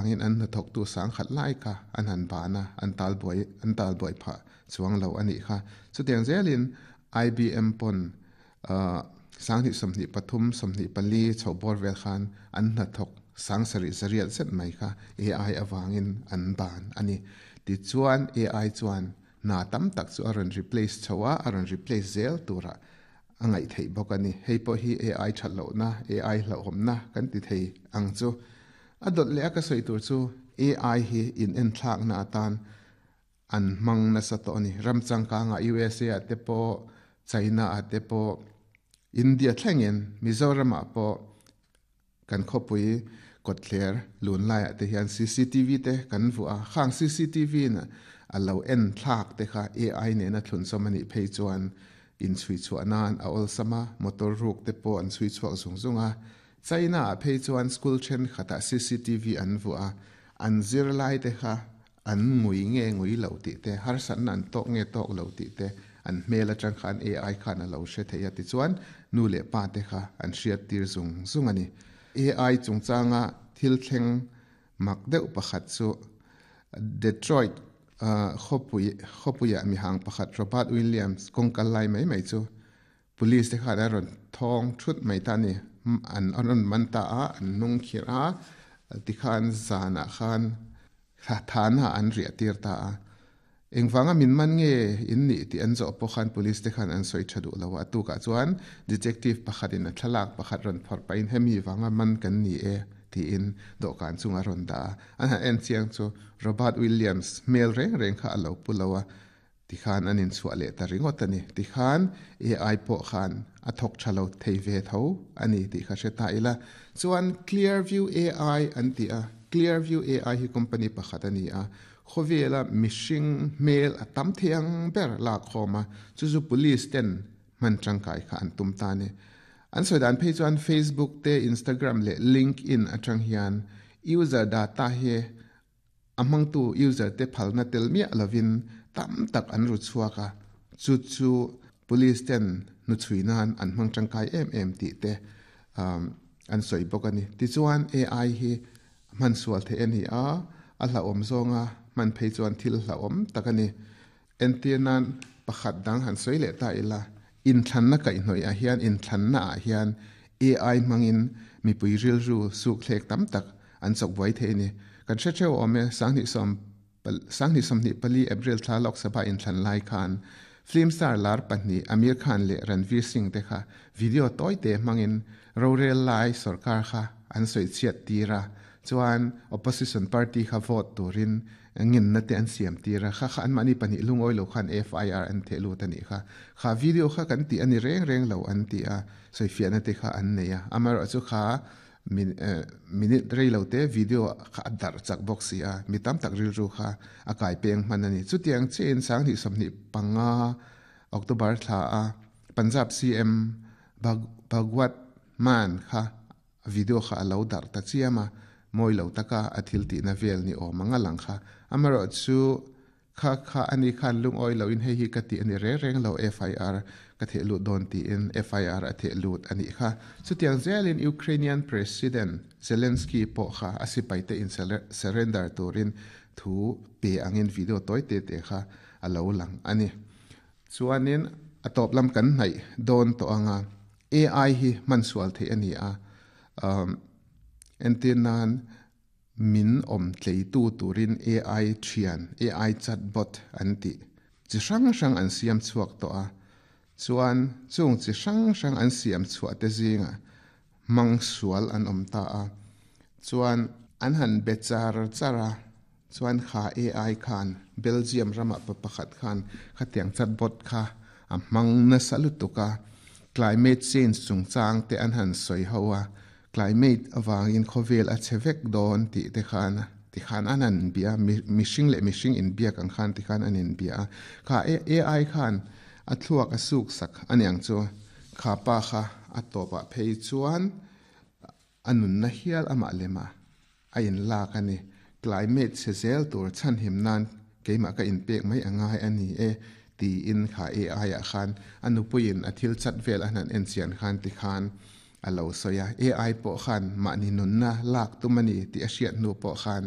Angin an hnathawktu sangkhat lai kha an han ban a, an talbuai an talbuai phah chuang lo a nih kha. Chutiang zelin IBM pawn 2023, 24 chhoh bawr vel khan an hnathawk sangsarih zariat zet mai kha AI avangin an ban a ni. Tichuan AI chuan hna tam tak chu a rawn replace chho a, a rawn replace zel turah a ngaih theih bawk a ni. Hei pawh hi AI that lohna, AI hlauhawmna kan ti thei ang chu. A dawt leh a ka sawi tur chu AI hi in enthlakna atan an hmang nasa tawh a ni. Ram changkangah USA ah te pawh, China ah te pawh, India thlengin Mizoramah pawh kan khawpui kawtthler lun laiah te hian cctv te kan vuah a, khang cctv in a lo en thlak te kha AI nena thlunchawm a nih phei chuan inchhui chhuah nan a awlsam a, motor ruk te pawh an chhui chhuak zung zung a. China ah phei chuan school thenkhatah cctv an vuah a, an zirlai te kha An ngui nge ngui lo tih te, harsatna an tawk nge tawk lo tih te, an hmel atang khan AI khan a lo hre thei a tichuan nu leh pa te kha an hriat tir zung zung a ni. AI chungchanga thil thleng mak deuh pakhat chu Detroit khawpui khawpuiah mihang pakhat Robert Williams kawngkal lai mai mai chu Police te khan a rawn thawng thut mai ta a ni. An rawn man ta a, an hnung khirh a, tikhan zanah khan thana an riah tir ta a. Engvanga min man nge in nih tih an zawh pawh khan police te khan an sawi tha duh lo a. A tukah chuan detective pakhatin a thlalak pakhat rawn phawrh pahin hemi vanga man kan ni e tiin dawhkan chunga rawn dah a. An han en chiang chu Robert Williams hmel reng reng kha a lo pu lo a. Tikhan an inchhuah leh ta ringawt a ni. Tikhan AI pawh khan a thawk tha lo thei ve tho a ni tih kha hre ta ila. Chuan Clearview AI an ti a, Clearview AI hi company pakhat a ni a, khawvela mihring hmel a tam thei ang ber lak khawm a, chu chu police ten hman tangkai kha an tum ta a ni. An sawi dan phei chuan Facebook te, Instagram leh LinkedIn atang hian user data hi A hmangtu user te phalna tel miah lovin tam tak an ru chhuak a, chu chu police ten hnuchhui nan an hmang tangkai em em tih te an sawi bawk a ni. Tichuan AI hi hman sual theih a ni a, a hlauhawm zawnga hman phei chuan thil hlauhawm tak a ni. Entir nan pakhat dang han sawi leh ta ila, inthlanna kaihhnawih ah hian inthlanna ah hian AI hmangin mipui rilru suk thlek tam tak an chawk buai thei a ni. Kan hre theuh awm e, 2024 April thla Lok Sabha inthlan lai khan film star lar pahnih Aamir Khan leh Ranveer Singh te kha video tawi te hmangin rorel lai sorkar kha an sawi chhiat tir a, chuan opposition party kha vote turin Ngenna te an siam tir a, kha kha anmahni pahnih lungawi lo khan FIR an theh lut a nih kha. Kha video kha kan tih a ni reng reng lo an ti a, sawifiahna te kha an nei a. Amaherawh chu kha minute rei lo te video kha a darh chak bawk si a, mi tam tak rilru kha a kai peng hman a ni. Chutiang chiahin 2025 October thla a Punjab CM Bhagwat Mann kha A video kha a lo darh ta chiam a, mawi lo taka a thil tihna vel ni awm ang a lang kha. Amaherawh chu kha kha a ni khan lungawi loin hei hi ka tih a ni reng reng lo, FIR ka theh lut dawn tiin FIR a theh lut a nih kha. Chutiang zelin Ukrainian President Zelensky pawh kha a sipaite in surrender turin thu pe angin video tawi te te kha a lo lang a ni. Chuanin a tawp lam kan hnaih dawn tawh anga AI hi hman sual theih a ni a, entir nan min awm tleitu turin AI thian, AI chatbot an tih chi hrang hrang an siam chhuak tawh a, chuan chung chi hrang hrang an siam chhuah te zingah hmang sual an awm ta a, chuan an han be char char a, chuan kha AI khan Belgium ramah pa pakhat khan khatiang chatbot kha a hmang nasa lutuk a, climate change chungchang te an han sawi ho a, climate avangin khawvel a che vek dawn tih te khan tikhan an han bia a, mihring leh mihring inbiak ang khan tikhan an inbia a, kha AI khan a thluak a suk sak aniang chu kha pa kha a tawpah phei chuan a nunna hial amah lema a inlak a ni. Climate chhe zel tur chhanhim nan keimah ka inpek mai a ngai a ni e tiin kha AI ah khan a nupuiin a thil chat vel a han enchian khan tikhan. A lo sawi a, AI pawh khan mahni nunna lak tum a ni tih a hriat hnu pawh khan.